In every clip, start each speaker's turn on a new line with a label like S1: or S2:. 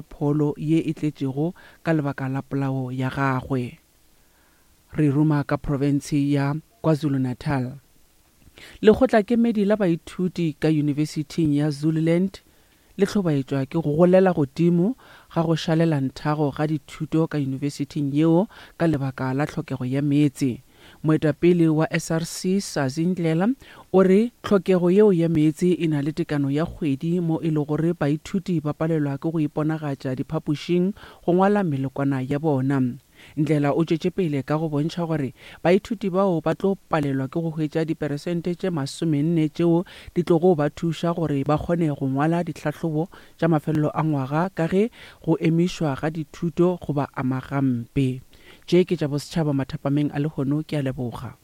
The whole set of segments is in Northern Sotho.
S1: Pholo ye e tletšego ka lebaka la polao ya gagwe. Re ruma ka profense ya KwaZulu-Natal. Lekgotlakemedi la baithuti ka Yunibesithing ya Zululand le hlobaetšwa ke go golela godimo ga go šalela nthago ga dithuto ka yunibesithing yeo ka lebaka la tlhokego ya meetse. Moetapele wa SRC, Sazi Ndlela, o re tlhokego yeo ya meetse e na le tekano ya kgwedi mo e le gore baithuti ba palelwa ke go iponagatša diphapošing go ngwala melokwana ya bona. Ndlela o tšwetše pele ka go bontšha gore baithuti bao ba tlo palelwa ke go hwetša diperesente tše masomenne tšeo di tlogo ba thuša gore ba kgone go ngwala dihlahlobo tša mafelelo a ngwaga ka ge go emišwa ga dithuto go ba ama gampe. Tše ke tša bosetšhaba mathapameng a lehono, ke a leboga.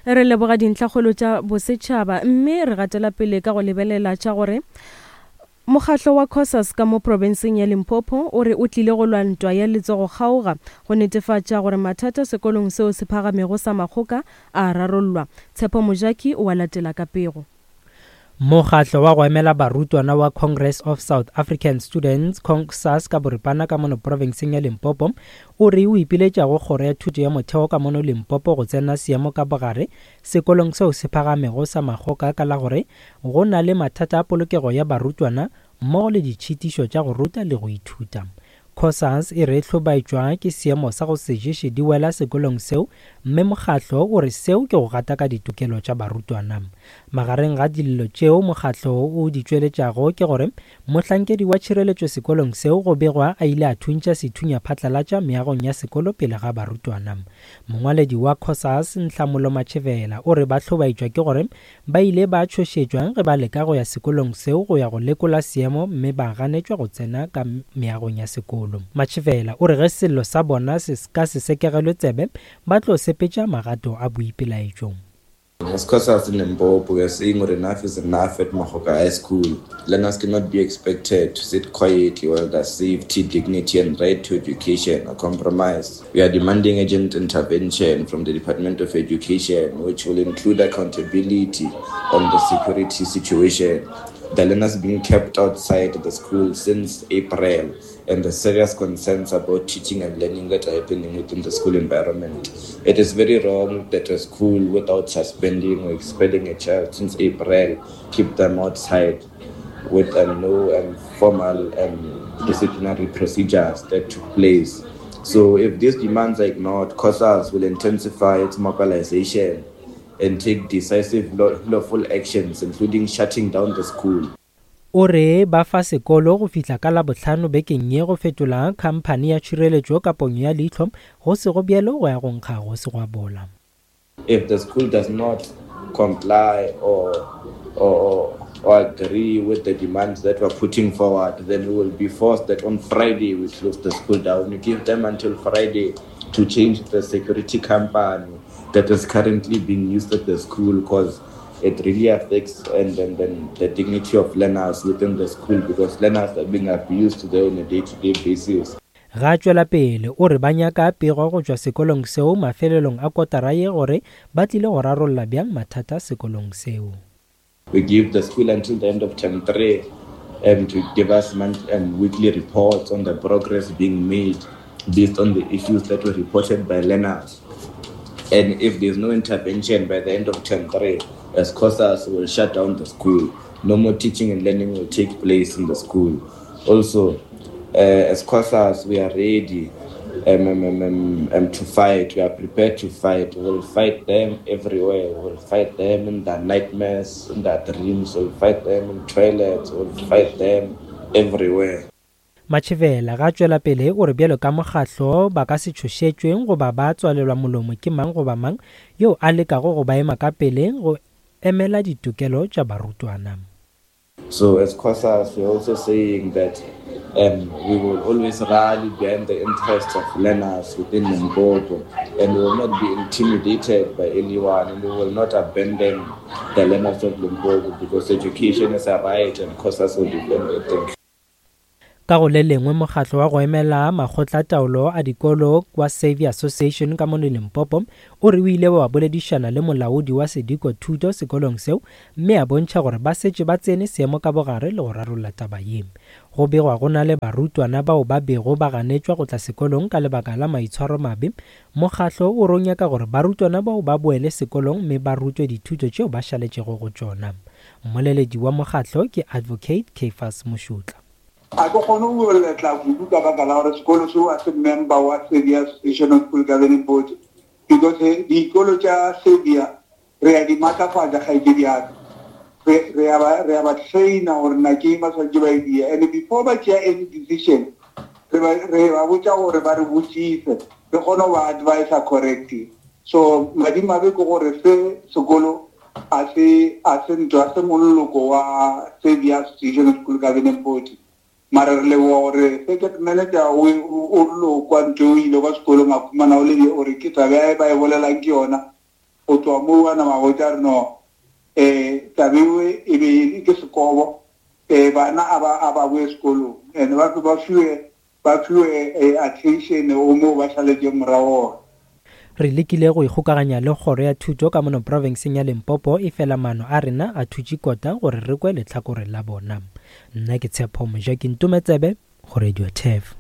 S2: Re leboga dintlhakgolo tša bosetšhaba mme re gatela pele ka go lebelela tša gore Mokgahlo wa Cosas ka mo profenseng ya Limpopo o re o tlile go lwa ntwa ya letsogo-kgaoga go netefatša gore mathata sekolong seo se phagamego sa Makgoka a a rarollwa. Tshepo Mojaki o a latela ka pego.
S3: Mokgatlo wa go emela barutwana wa Congress of South African Students, CONSAS ka boripana ka mono profenseng ya Limpopo, o re o ipiletša go Kgoro ya Thuto ya Motheo ka mono Limpopo go tsena seemo ka bogare sekolong seo se phagamego sa Makgoka ka la gore go na le mathata a polokego ya barutwana mmogo le ditšhitišo tša go ruta le go ithuta. Cosas e re hlobaetšwa ke seemo sa go se ješe di wela sekolong seo mme mokgatlo o re seo ke go gataka ditokelo tša barutwana. Magareng ga dillo tšeo mokgatlo o di tšweletšago ke gore mohlankedi wa tšhireletšo sekolong seo go begwa a ile a thuntša sethunya phatlalatša meagong ya sekolo pele ga barutwana. Mongwaledi wa Cosas, Nhlamulo Matšhevela o re ba hlobaetšwa ke gore Ba ile ba tšhošetšwa ge ba leka go ya sekolong seo go ya go lekola seemo mme ba ganetšwa go tsena ka meagong ya sekolo. Matšhefela o re ge sello sa bona se ka se sekegelwe tsebe, ba tlo sepetša magato a boipelaetšo.
S4: As Cosas in Limpopo, we are saying gore enough is enough at Makgoka High School. Learners cannot be expected to sit quietly while their safety, dignity and right to education are compromised. We are demanding urgent intervention from the Department of Education, which will include accountability on the security situation. The learners being kept outside the school since April and the serious concerns about teaching and learning that are happening within the school environment. It is very wrong that a school, without suspending or expelling a child since April, keep them outside with no formal disciplinary procedures that took place. So if these demands are ignored, COSAS will intensify its mobilization and take decisive lawful actions, including shutting down the school.
S3: O re ba fa sekolo go fihla ka Labohlano bekeng ye go fetola khamphani ya tšhireletšo ka ponyo ya leihlo, go sego bjalo go ya go nkga go se gwa bola.
S4: If the school does not comply or, or, or agree with the demands that we're putting forward, then we will be forced that on Friday we close the school down. We give them until Friday to change the security company that is currently being used at the school because it really affects and then, then the dignity of learners within the school because learners are being abused there on a day-to-day basis.
S3: Ge a tšwela pele o re ba nyaka pego go tšwa sekolong seo mafelelong a kotara ye gore ba tlile go rarolla bjang mathata sekolong seo.
S4: We give the school until the end of term 3 um, to give us month, um, weekly reports on the progress being made based on the issues that were reported by learners. And if there's no intervention by the end of term 3, as COSAS will shut down the school. No more teaching and learning will take place in the school. Also, uh, as COSAS, we are ready um, um, um, um, um, to fight. We are prepared to fight. We'll fight them everywhere. We'll fight them in their nightmares, in their dreams. We'll fight them in toilets. We'll fight them everywhere.
S3: Matšhevela ga tšwela pele o re bjalo ka mokgatlo ba ka se tšhošetšwe goba ba tswalelwa molomo ke mang goba mang yo a lekago go ba ema ka pele go emela ditokelo tša barutwana.
S4: So as COSAS, we're also saying that um, we will always rally behind the interests of learners within Limpopo, and we will not be intimidated by anyone, and we will not abandon the learners of Limpopo because education is a right and COSAS will defend it. Thank you.
S3: Ka go le lengwe, mokgatlo wa go emela makgotlataolo a dikolo wa Saviour Association ka mono Limpopo o re o ile wa boledišana le molaodi wa sediko thuto sekolong seo mme a bontšha gore ba setše ba tsene seemo ka bogare le go rarolla taba ye. Go begwa go na le barutwana bao ba bego ba ganetšwa go tla sekolong ka lebaka la maitshwaromabe. Mokgatlo o re o nyaka gore barutwana bao ba boele sekolong mme ba rutwe dithuto tšeo ba šaletšego go tšona. Mmoleledi wa mokgatlo ke Advocate Caiphus Mošutla.
S5: Ga ke kgone go letla kudu ka baka la gore sekolo seo a se member wa Serbia Association of School Governing Board because dikolo tša Serbia re a di matlafatša kgaetšedi ya ka. Re, re a ba, re a ba trainer gore na ke eng ba swanetše ba e dia and before ba tšea any decision re ba, re ba botša gore ba re botšise re kgone go ba advisa correctly. So madimabe ke gore se sekolo a se a se ntho a se moloko wa Serbia Association of School Governing Body mara re leboga gore circuit manager o o rillo kwa ntho o ile kwa sekolong a khumana o le gore ke taba e ba e bolelang ke yona go tloga moo a nama botša re no um taba ewe e be ke sekobo um bana a ba a ba boe sekolong and ba ba fiwe ba fiwe eh, attention o moo ba šaletšeng morago gona.
S3: Re lekile go ikgokaganya le Kgoro ya Thuto ka mono profenseng ya Limpopo efela maano a rena a thutše kota gore re kwe lehlakore la bona. Nna ke Tshepo Mojaki Ntometsebe go Radio Turf.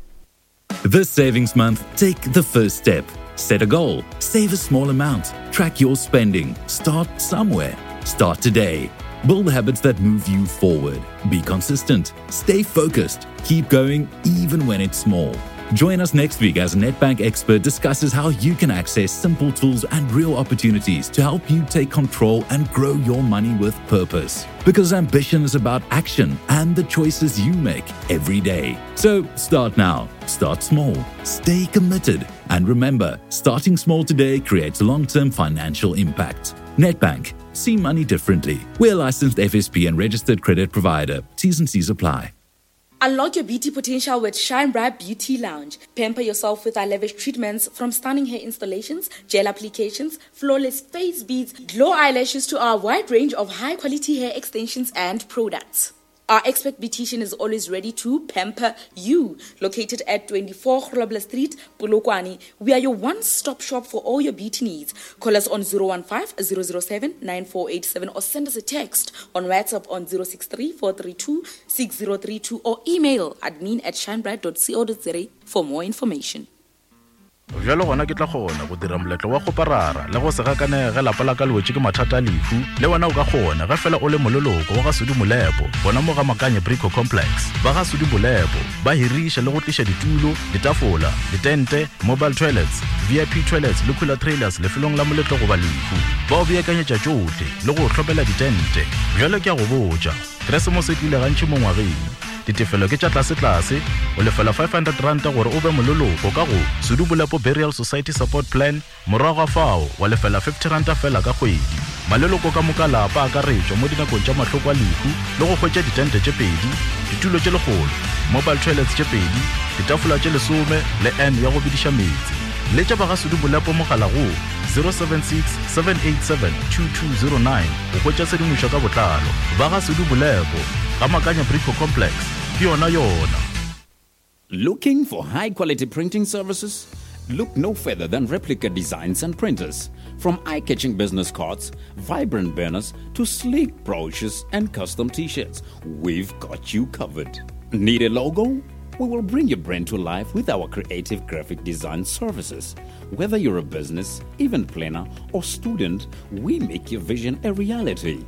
S6: This savings month, take the first step. Set a goal, save a small amount, track your spending, start somewhere. Start today. Build habits that move you forward. Be consistent, stay focused, keep going even when it's small. Join us next week as Nedbank expert discusses how you can access simple tools and real opportunities to help you take control and grow your money with purpose. Because ambition is about action and the choices you make every day. So start now, start small, stay committed, and remember starting small today creates long term financial impact. Nedbank, see money differently. We're licensed FSP and registered credit provider. T's and C's apply.
S7: Unlock your beauty potential with Shine Bright Beauty Lounge. Pamper yourself with our lavish treatments from stunning hair installations, gel applications, flawless face beads, glow eyelashes to our wide range of high quality hair extensions and products. Our expert beautician is always ready to pamper you. Located at 24 Grobler Street, Polokwane, we are your one-stop shop for all your beauty needs. Call us on 015 007 9487 or send us a text on WhatsApp on 063 432 6032 or email admin at shinebright.co.za for more information.
S8: Bjalo gona ke tla kgona go dira moletlo wa go parara le go se gakanege ge lapa la ka le wetše ke mathata a lehu. Le wena o ka kgona ge fela o le moleloko wa ga Sudi Molepo gona mo ga Makanye Brico Complex. Ba ga Sudi Molepo ba hiriša le go tliša ditulo, ditafola, ditente, mobile toilets, VIP toilets le cooler trailers lefelong la moletlo goba lehu. Ba o beakanyetša tšohle le go o hlopela ditente. Bjalo ke a go botša, Keresemose e tlile gantši mo ngwageng. Ditefelo ke tša tlasetlase, o lefela R500 gore o be moleloko ka go Sudu Bolepo Burial Society Support Plan, morago ga fao wa lefela R50 feela ka kgwedi. Maleloko ka moka lapa a akaretšwa mo dinakong tša mahloko a lehu le go hwetša ditente tše pedi, ditulo tše lekgolo, mobile toilets tše pedi, ditafola tše lesome le urn ya go bediša meetse. Letša ba ga Sudu Bolepo mogala go 076 787 2209 go hwetša tshedimošo ka botlalo. Ba ga Sudu Bolepo, ga Makanya Brico Complex, ke yona yona.
S9: Looking for high quality printing services? Look no further than Replica Designs and Printers. From eye catching business cards, vibrant banners, to sleek brochures and custom t shirts, we've got you covered. Need a logo? We will bring your brand to life with our creative graphic design services. Whether you're a business, event planner, or student, we make your vision a reality.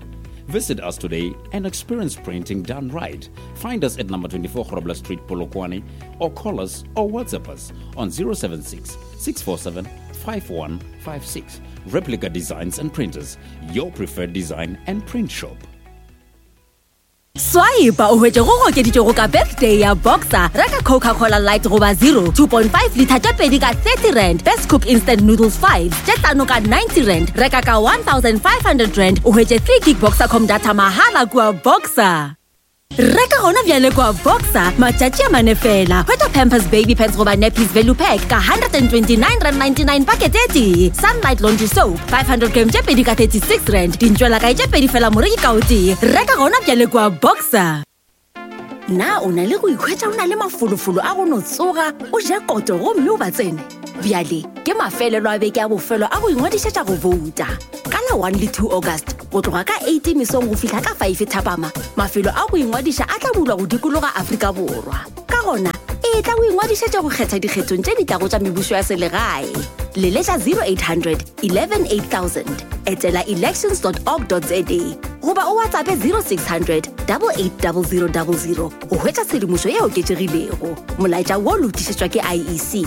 S9: Visit us today and experience printing done right. Find us at number 24 Grobler Street, Polokwane, or call us or WhatsApp us on 076 647 5156. Replica Designs and Printers, your preferred design and print shop.
S10: Swipe o hwetše go gokeditšwego ka birthday ya Boxer. Reka Coca-Cola Light goba Zero 2.5 litha tše pedi ka 30 rand, Best Cook Instant Noodles 5 tše tlano ka 90 rand. Reka ka 1500 rand o hwetše 3 gig Boxercom data mahala kua Boxer. Reka gona bjale kua Boxer matšatši a mane fela. Hwetša Pampers Baby Pants goba Nappies Value Pack ka 129 rand 99 pakete e tee. Sunlight Laundry Soap 500 gram tše pedi ka 36 rand. Dintšwelakae tše pedi fela moreki ka o tee. Reka gona bjale kua Boxer. Na o na le go ikhwetša o na le mafolofolo a go no tsoga o ja koto gomme o ba tsene? Bjale ke mafelelo a beke a bofelo a go ingwadišetša go bouta. Ka la 1 le 2 August go tloga ka 8 mesong go fihla ka 5 thapama, mafelo a go ingwadiša a tla bulwa go dikologa Afrika Borwa. Ka gona, etla o ingwadišetše go kgetha dikgethong tše di tlago tša mebušo ya selegae. Leletša 0800 11 8000, etela elections.org.za goba o WhatsAppe 0600 880000 go hwetša tshedimošo e oketšegilego. Molaetša wo lotišetšwa ke IEC.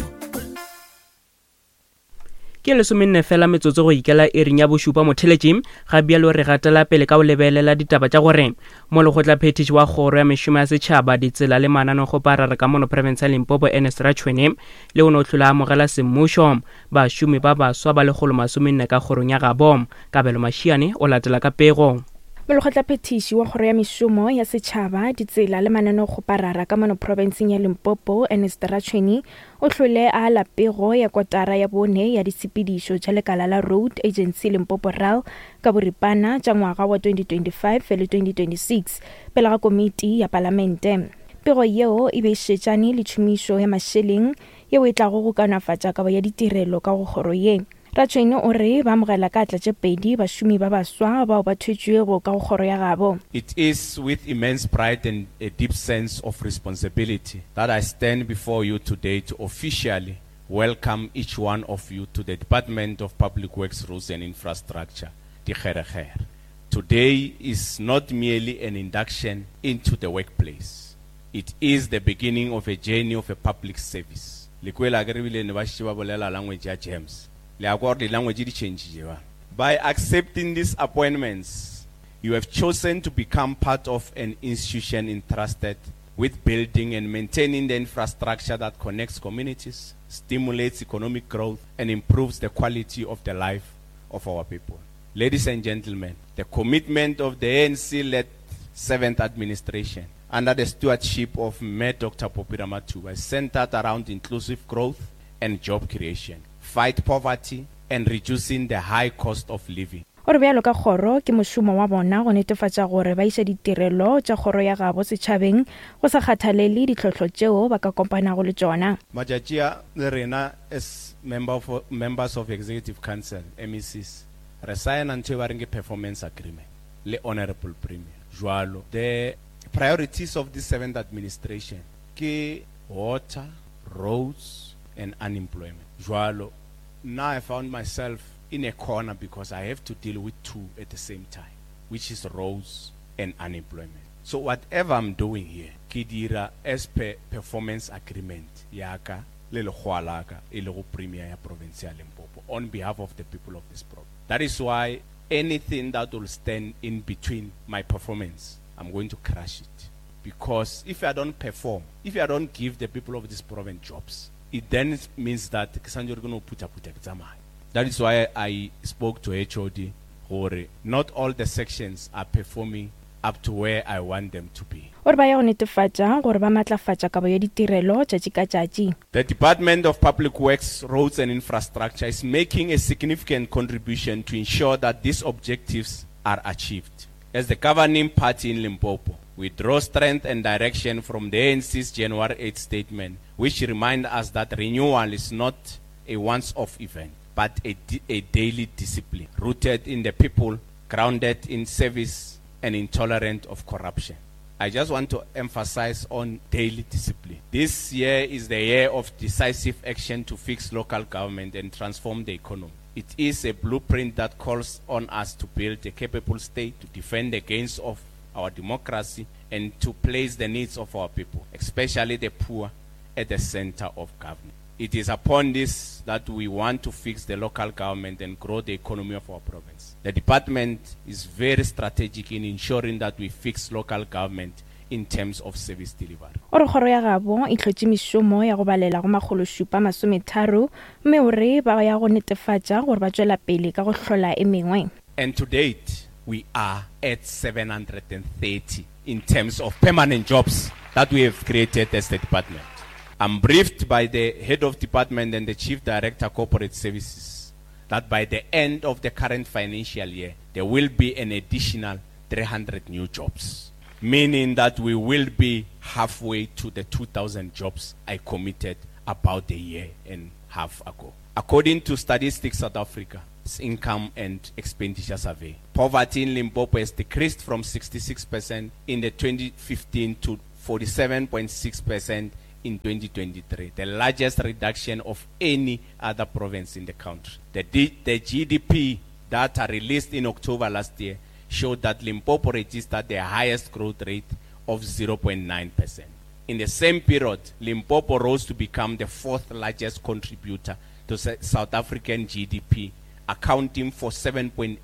S11: Ke lesomenne fela metsotso go ikela iring ya bošupa motheletši. Ga bjalo re gatela pele ka go lebelela ditaba tša gore mo lekgotlaphethiši wa kgoro ya mešomo ya setšhaba, ditsela le mananekgoparara ka mono profense ya Limpopo Ernest Ratšhwene le o no hlola amogela semmušo bašomi ba baswa ba lekgolo masomenne ka kgorong ya gabo. Kabelo Mashiane o latela ka pego.
S12: Molekgotlaphethiši wa Kgoro ya Mešomo ya Setšhaba, Ditsela le Mananeokgoparara ka mono profenseng ya Limpopo, Ernest Ratšhweni, o hlole a ala pego ya kotara ya bone ya ditshepedišo tša lekala la Road Agency Limpopo RAL ka boripana tša ngwaga wa 2025 le 2026 pele ga komiti ya palamente. Pego yeo e be e šetšane le tšhomišo ya mašeleng yeo e tlago go kaonafatša kabo ya ditirelo ka go kgoro ye. Ratšhwene o re ba amogela ka atla tše pedi bašomi ba baswa bao ba thwetšwego ka go kgoro ya gabo.
S13: It is with immense pride and a deep sense of responsibility that I stand before you today to officially welcome each one of you to the Department of Public Works, Roads and Infrastructure, Dikgerekgere. Today is not merely an induction into the workplace. It is the beginning of a journey of a public service. Le kwele akere ebile ne ba šetše ba bolela language ya James. Le a kwa gore di language di changile ba. By accepting these appointments, you have chosen to become part of an institution entrusted with building and maintaining the infrastructure that connects communities, stimulates economic growth, and improves the quality of the life of our people. Ladies and gentlemen, the commitment of the ANC-led 7th administration under the stewardship of Mayor Dr. Phophi Ramathuba is centered around inclusive growth and job creation, fight poverty and reducing the high cost of living.
S12: O re bjalo ka kgoro, ke mošomo wa bona go netefatša gore ba iša ditirelo tša kgoro ya gabo setšhabeng go sa kgathalele ditlhohlo tšeo ba ka kopanago le tšona.
S13: Matšatši a le rena as member of members of executive council, MECs, re saena ntho e ba reng ke performance agreement le honourable premier. Jwalo the priorities of this seventh administration ke water, roads and unemployment. Jwalo nna I found myself in a corner because I have to deal with two at the same time, which is roads and unemployment. So whatever I'm doing here, ke dira as per performance agreement ya ka le lekgowa la ka e lego Premier ya province ya Limpopo on behalf of the people of this province. That is why anything that will stand in between my performance, I'm going to crush it. Because if I don't perform, if I don't give the people of this province jobs, it then means that ke santse ke no phutha-phutha ke tsamaya. That is why I spoke to HOD gore not all the sections are performing up to where I want them to be.
S12: O re ba ya go netefatša gore ba matlafatša kabo ya ditirelo tšatši ka tšatši.
S13: The Department of Public Works, Roads and Infrastructure is making a significant contribution to ensure that these objectives are achieved. As the governing party in Limpopo, we draw strength and direction from the ANC's January 8 statement, which remind us that renewal is not a once-off event, but a, a daily discipline, rooted in the people, grounded in service, and intolerant of corruption. I just want to emphasize on daily discipline. This year is the year of decisive action to fix local government and transform the economy. It is a blueprint that calls on us to build a capable state, to defend the gains of our democracy, and to place the needs of our people, especially the poor, at the center of government. It is upon this that we want to fix the local government and grow the economy of our province. The department is very strategic in ensuring that we fix local government in terms of service delivery.
S12: O re kgoro ya gabo e hlotše mešomo ya go balela go makgološupa masometharo mme o re ba ya go netefatša gore ba tšwela pele ka go hlola e mengwe.
S13: And to date, we are at 730 in terms of permanent jobs that we have created as the department. I'm briefed by the head of department and the chief director corporate services that by the end of the current financial year, there will be an additional 300 new jobs. meaning that we will be halfway to the 2,000 jobs I committed about a year and a half ago. According to Statistics South Africa's Income and Expenditure Survey, poverty in Limpopo has decreased from 66% in the 2015 to 47.6% in 2023, the largest reduction of any other province in the country. The, D- the GDP data released in October last year showed that Limpopo registered the highest growth rate of 0.9%. In the same period, Limpopo rose to become the fourth largest contributor to South African GDP, accounting for 7.8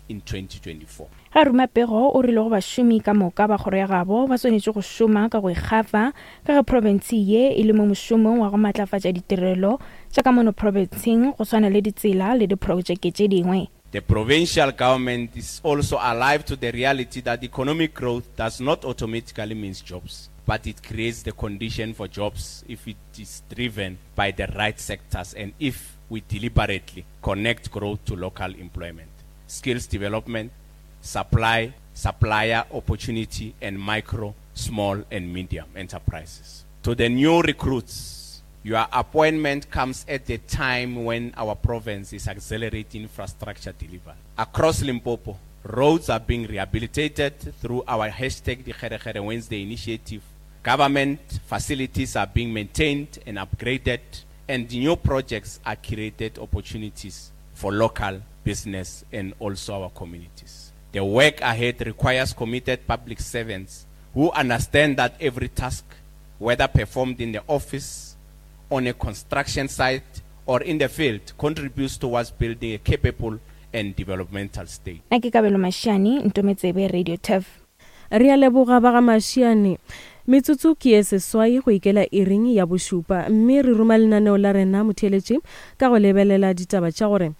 S13: in 2024.
S12: Ga ruma pego o rile go bašomi ka moka ba kgoro ya gabo ba swanetše go šoma ka go ikgafa ka ge profense ye e le mo mošomong wa go matlafatša ditirelo tša ka mono profenseng go swana le ditsela le diprojeke tše dingwe.
S13: The provincial government is also alive to the reality that economic growth does not automatically means jobs, but it creates the condition for jobs if it is driven by the right sectors and if we deliberately connect growth to local employment, skills development, supply, supplier opportunity, and micro, small, and medium enterprises. To the new recruits, your appointment comes at a time when our province is accelerating infrastructure delivery. Across Limpopo, roads are being rehabilitated through our hashtag Dikgerekgere Wednesday initiative. Government facilities are being maintained and upgraded, and new projects are created opportunities for local business and also our communities. The work ahead requires committed public servants who understand that every task, whether performed in the office, on a construction site, or in the field, contributes towards building a capable and developmental state.
S12: Nna ke Kabelo Mashiane, Ntometsebe, Radio Turf.
S2: Re a leboga ba ga Mashiane. Metsotso ke ye seswai go ikela iring ya bošupa mme re ruma lenaneo la rena motheeletši ka go lebelela ditaba tša gore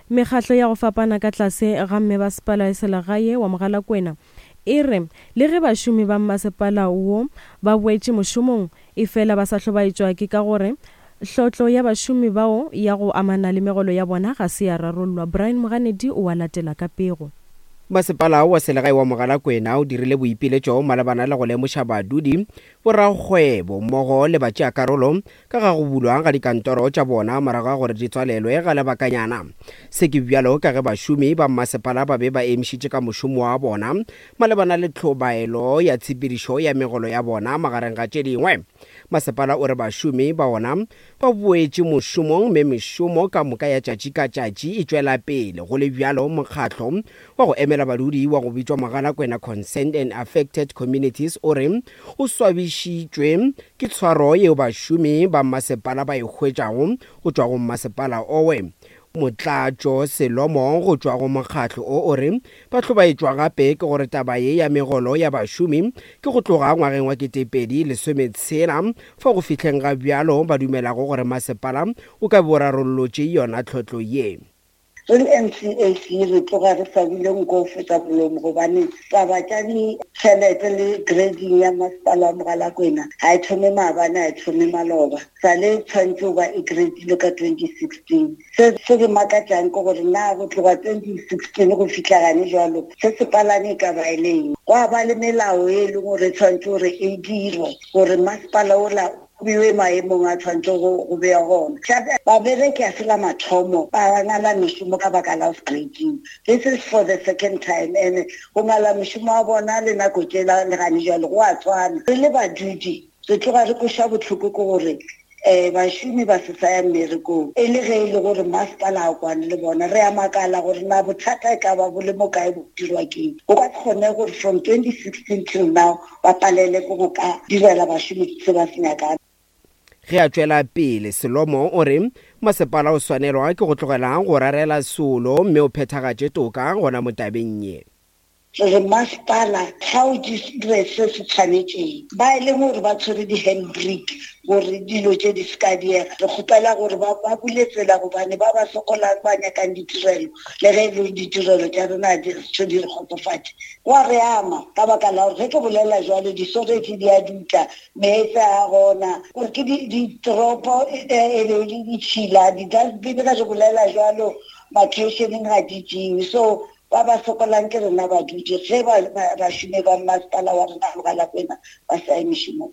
S2: mekgatlo ya go fapana ka tlase ga mmebasepala ya selegae wa Mogalakwena e re le ge bašomi ba mmasepala wo ba boetše mošomong efela ba sa hlobaetšwa ke ka gore hlotlo ya bašomi bao ya go amana le megolo ya bona ga se ya rarollwa. Brian Moganedi o a latela ka pego.
S14: Masepala wa selegae wa Mogalakwena o dirile boipiletšo malebana le go lemoša badudi, borakgwebo mmogo le batšeakarolo ka ga go bulwa ga dikantoro tša bona morago ga gore di tswalelwe ga lebakanyana. Se ke bjalo ka ge bašomi ba mmasepala ba be ba emišitše ka mošomo wa bona malebana le tlhobaelo ya tshepedišo ya megolo ya bona magareng ga tše dingwe. Masepala o re bašomi ba ona ba boetše mošomong mme mešomo ka moka ya tšatši ka tšatši e tšwela pele. Go le bjalo, mokgatlo wa go emela badudi wa go bitšwa Mogalakwena Concerned and Affected Communities o re o swabišitšwe ke tshwaro yeo bašomi ba mmasepala ba e hwetšago go tšwa go mmasepala owe. Motlatšo Selomo go tšwa go mokgatlo o o re ba hlobaetšwa gape ke gore taba ye ya megolo ya bašomi ke go tloga ngwageng wa 2016 fao go fihleng ga bjalo ba dumelago gore masepala o ka be o rarollotše yona tlhotlo ye.
S15: Re le NCAC re tloga re swabile nko go feta molomo gobane taba tša ditšhelete le grading ya masepala wa Mogalakwena ga e thome maabane ga e thome maloba. Sa le tshwanetse go ba e gradile ka 2016. Se se re makatšang ke gore na go tloga 2016 go fihla gane jalo se sepalane e ka ba e le eng. Gwa ba le melao e leng gore e tshwanetse gore e dirwe gore masepala ola o bewe maemong a tshwanetse go bewa gona. Gape babereki a se la mathomo ba ngala mešomo ka baka la go gradiwa. This is for the second time and go ngala mošomo wa bona le nako tšela le gane jalo go a tshwana. Re le badudi re tloga re kweša bohloko ke gore um bašomi ba se sa ya mmerekong e le ge e le gore masepala a kwane le bona. Re a makala gore na bothata e ka ba bo le mo kae bo dirwa keng. Go ka se kgone gore from 2016 till now ba palele ke go ka direla bašomi se ba se nyakang.
S14: Ge a tšwela pele, Selomo o re masepala o swanelwa ke go tlogela go rarela seolo mme o phethagatše toka gona mo tabeng ye.
S15: Re re masepala ga o dire se se tshwanetšeng, ba e leng gore ba tshwere di-handbrake gore dilo tše di se ka diega, re kgopela gore ba ba bule tsela gobane ba ba sokolang ba nyakang ditirelo le ge e le gore ditirelo tša rena di se di re kgotsofatše. Go a re ama ka baka la gore ge ke bolela jalo disoretše di a dutla, meetse a gona gore ke ditoropo e be e le ditšhila, di-dustbin ge re bolela jalo makheišeneng ga di tšewe. So. Ba ba sokolang ke rena badudi ge bašomi ba mmasepala wa rena Mogalakwena ba sa ye mešomong.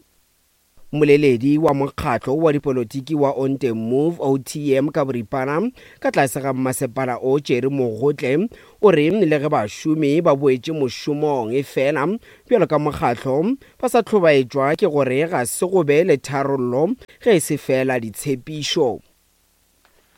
S14: Mmoleledi wa mokgatlo wa dipolotiki wa Onte Move, OTM ka boripana, ka tlase ga mmasepala o Jerry Mogotle, o re le ge bašomi ba boetše mošomong efela bjalo ka mokgatlo ba sa hlobaetšwa ke gore ga se go be le tharollo ge e se feela ditshepišo.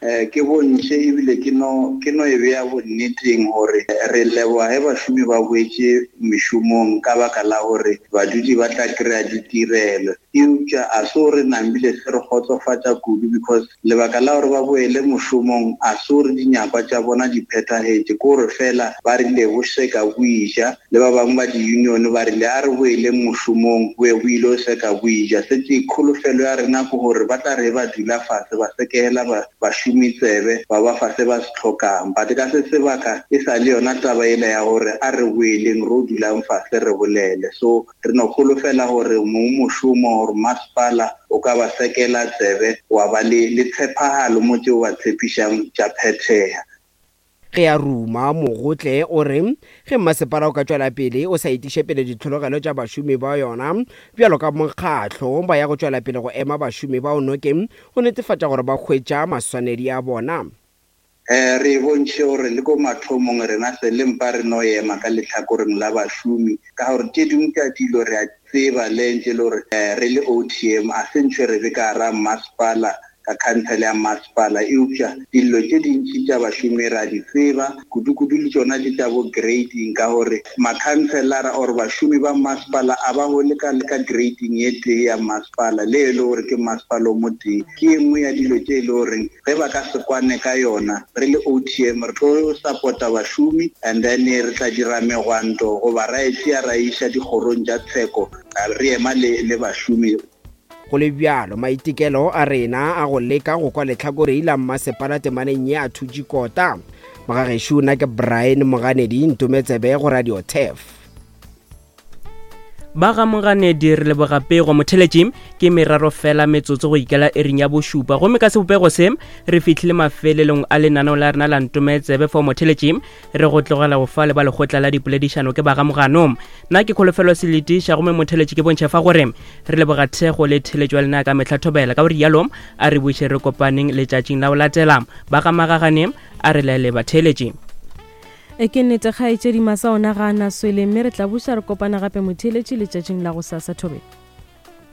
S5: Eh, ke bontšhe ebile ke no ke no e bea bonneteng gore re leboga ge bašomi ba boetše mešomong ka baka la gore badudi ba tla kry-a ditirelo. Eupša a se gore nambile se re kgotsofatša kudu because lebaka la gore ba boele mošomong a se gore dinyakwa tša bona di phethagetše, ke gore fela ba rile bo seka bo ija le ba bangwe ba di-union ba rile a re boeleng mošomong bo ye bo ile o seka bo ija. Setse kholofelo ya rena ke gore ba tla re ba dula fase ba sekegela bašomi tsebe ba ba fa se ba se hlokang. But ka se sebaka e sa le yona taba yela ya gore a re boeleng ro dulang fase re bolele. So re no kholofela gore mong mošomo gore masepala o ka ba sekela tsebe wa ba le le tshephagalo mo tšeo ba tshepišang tša phethega.
S14: Ge a ruma, Mogotle o re ge mmasepala o ka tšwela pele o sa etiše pele ditlhologelo tša bašomi ba yona bjalo ka mokgatlo, ba ya go tšwela pele go ema bašomi bao nokeng go netefatša gore ba hwetša maswanedi a bona.
S5: Re bontšhe gore le ko mathomong rena se le mpa re no ema ka lehlakoreng la bašomi ka gore tše dingwe tša dilo re a tseba le ntše le gore re le OTM a se ntho e re be ka gara mmasepala ka khansele ya masepala, eupša dillo tše dintši tša bašomi re a di tseba, kudu-kudu le tšona tše tša bo grading, ka gore makhanselara or bašomi ba masepala a ba hole ka ka grading ye tee ya masepala, le e le gore ke masepala o motee. Ke ye nngwe ya dilo tše e le goreng ge ba ka se kwane ka yona, re le OTM re tlo support-a bašomi and then re tla dira megwanto goba ra e tšea ra e iša dikgorong tša tsheko re ema le le bašomi.
S14: Go le bjalo, maitekelo a rena a go leka go kwa lehlakore la mmasepala temaneng ye a thutše kota. Mogagešo nna ke Brian Moganedi, ntometsebe go Radio Turf.
S11: Ba ga Moganedi re leboga pego motheletši ke meraro fela metsotso go ikela ering ya bošupa gomme ka sebopego se re fihlile mafelelong a lenaneo la rena la ntometsebe fao motheletši re go tlogela go fa le ba lekgotla la dipoledišano ke ba ga Mogano. Nna ke Kholofelo Seletiša gomme motheletši ke bontšha fa gore re leboga thekgo le theletšo ya lena ka mehla thobela. Ka go rialo a re buše re kopaneng letšatšing la go latela. Ba ga Magagane a re laele batheeletši.
S2: E ke nnete kgaetšedi Masa ona ga a na swele mme re tla buša re kopana gape motheeletši letšatšing la gosasa thobela.